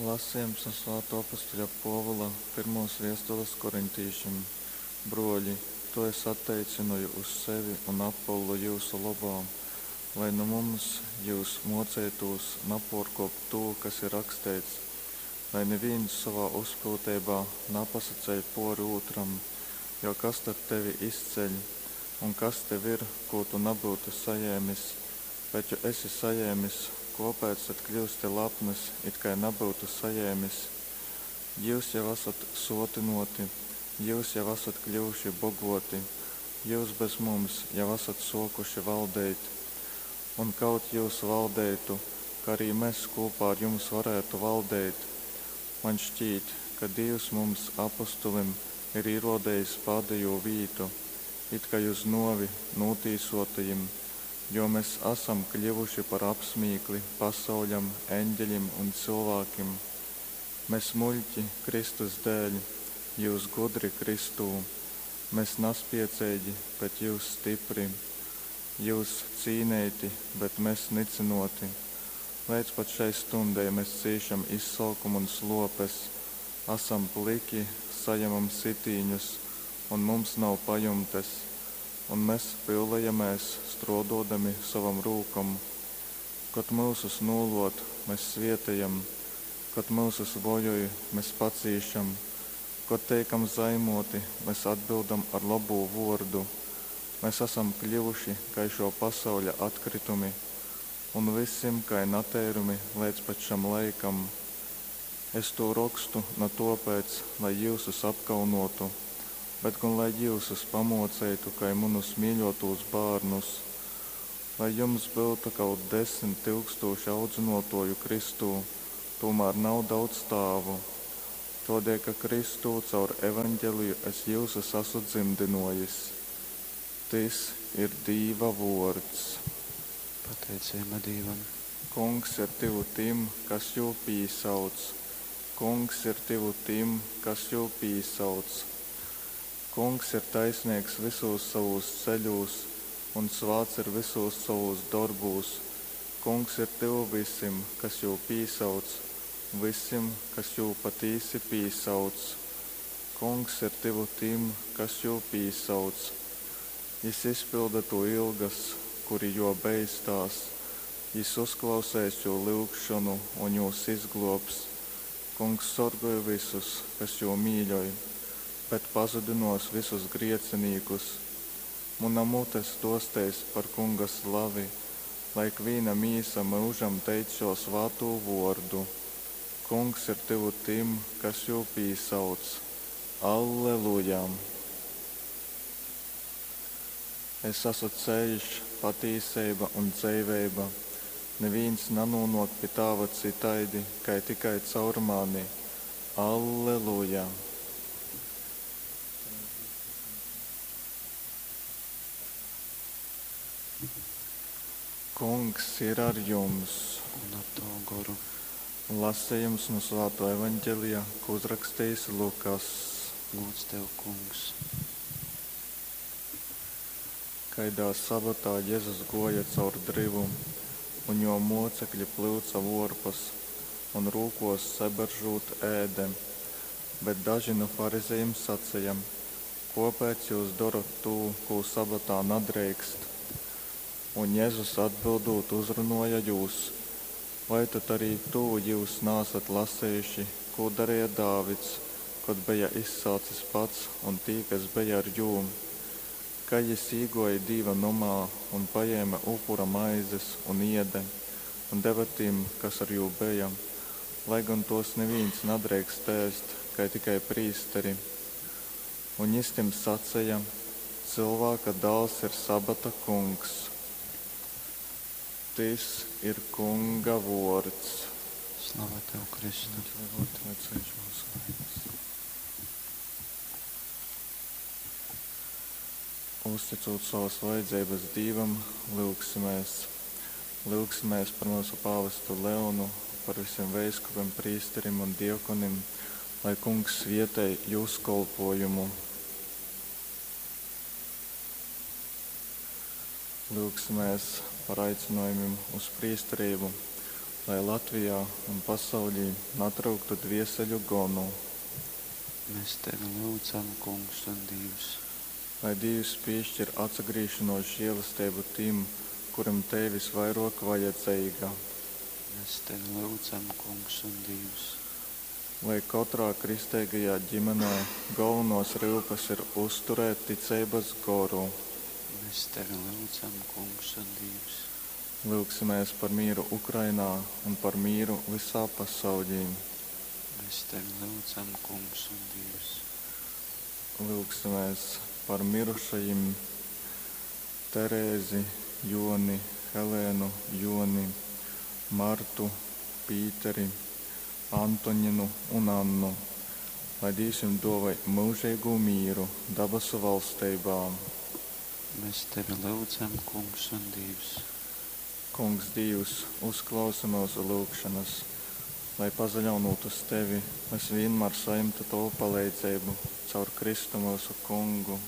Lasejums nu Svātuo apustuļa Puovula pyrmuos viestules korintīšim. Bruoļi, tū es atteicynoju uz sevi un Apollu jyusu lobā, lai nu mums jyus muoceitūs napuorkuopt tū, kas ir raksteits, lai nivīns sovā uzpyuteibā napasaceļ puori ūtram, jo kas tad tevi izceļ? Un kas tev ir, kū tu nabyutu sajēmis? Bet jo esi sajēmis, kōpēc tad kļyusti lapnys, it kai nabyutu sajēmis? Jyus jau asat sōtynōti, jyus jau asat kļyvuši bogōti, jyus bez mums jau asat sōkuši valdeit. Un kaut jyus valdeitu, ka arī mes kūpā ar jums varētu valdeit. Maņ šķīt, ka Dīvs mums, apostulim, ir īrōdejis pādejū vītu, it kai uz nōvi nūtīsōtajim, jo mes asam kļyvuši par apsmīkli pasauļam, eņgeļim un cylvākim. Mes muļķi Kristus dēļ, jyus gudri Kristū, mes naspieceigi, bet jyus stipri, jyus cīneiti, bet mes nycynōti. Leidz pat šai stundei mes cīšam izsolkumu un slōpes, asam plyki, sajemam sitīņus un mums nav pajumtes, un mes pyulejamēs, strōdōdami sovom rūkom. Kod myusus nūlōd, mes svietejam, kod myusus vojoj, mes pacīšam, kod teikam zaimōti, mes atbyldam ar lobū vōrdu. Mes asam kļyvuši kai šō pasauļa atkrytumi un vysim kai nateirumi leidz pat šam laikam. Es tū rokstu na tōpēc, lai jyusus apkaunōtu, bet gon lai jyusus pamōceitu kai munus mīļōtūs bārnus. Lai jums byutu kaut 10,000 audzynōtōju Kristū, tūmār nav daudz tāvu. Tōdēļ ka Kristū caur Evangeliju es jyusus asu dzymdynōjis. Tys ir Dīva vōrds. Pateiceiba Dīvam. Kungs ir tyvu tim, kas jū pīsauc. Kungs ir tyvu tim, kas jū pīsauc. Kungs ir taisneigs vysūs sovūs ceļūs un svāts ir vysūs sovūs dorbūs. Kungs ir tyvu vysim, kas jū pīsauc, vysim, kas jū patīsi pīsauc. Kungs ir tyvu tim, kas jū pīsauc. Jys izpylda tū ilgas, kuri jō beistās. Jys uzklauseis jū lyugšonu un jūs izglōbs. Kungs sorgoj vysus, kas jū mīļoj, bet pazudynōs vysus griecinīkus. Muna mute stōsteis par Kunga slavi, lai ikvīna mīsa myužam teic jō svātū vōrdu. Kungs ir tyvu tim, kas jū pīsauc. Alleluja! Es asu ceļš, patīseiba un dzeiveiba. Nivīns nanūnōk pi Tāva cytaidi, kai tikai caur mani. Alleluja! Kungs ir ar jums! Un ar tavu goru. Lasejums nu Svātō Evangelija, ko uzrakstījis Lukass. Gūds tev, Kungs! Kaidā sabatā Jezus gōja caur dryvu, un jō mōcekļi plyuca vōrpas un, rūkōs saberžūt, ēde. Bet daži nu farizejim saceja: Kōpēc jyus dorot tū, kū sabatā nadreikst? Un Jezus atbyldūt uzrunōja jūs: Vai tad arī tū jyus naasat lasejuši, kū dareja Dāvids, kod beja izsalcis pats un tī, kas beja ar jū? Kai jys īgōja Dīva nomā un pajēme upura maizes un iede, un deve tim, kas ar jū beja, lai gon tōs nivīns nadreikst ēst, kai tikai prīsteri. Un jys tim saceja: Cylvāka Dāls ir sabata Kungs. Tys ir Kunga vōrds. Slava tev, Kristu! Uzticūt savas vajadzeibas Dīvam, lyugsimēs. Lyugsimēs par myusu pāvestu Leonu, par visiem veiskupiem, prīsterim un diakonim, lai Kungs svietej jūs kolpojumu. Lyugsimēs par aicinājumiem uz priesterību. Lai Latvijā un pasauļī natryuktu dvieseļu gonu. Mēs Tevi lyudzam, Kungs un Dīvs. Lai Dīvs pīškir atsagrīzšonuos žielesteibu tim, kurim tei vysvairuok vajadzeiga. Mēs Tevi lyudzam, Kungs un Dīvs. Lai kotrā kristeigajā ģimenē golvonuos ryupes ir uzturēt ticeibys goru. Mēs Tevi lyudzam, Kungs un Dīvs. Lyugsimēs par mīru Ukrainā un par mīru vysā pasauļī. Mēs Tevi lyudzam, Kungs un Dīvs. Lyugsimēs par mirušajim Terēzi, Juoni, Helēnu, Juoni, Martu, Pīteri, Antoņinu un Annu, lai Dīvs jim duovoj myužeigū mīru dabasu valsteibā. Mēs Tevi lyudzam, Kungs un Dīvs. Kungs Dīvs, uzklausi myusu lyugšonas, lai, pasaļaunūt uz Tevi, mes vīnmār sajimtu Tovu paleidzeibu. Caur Kristu myusu Kungu.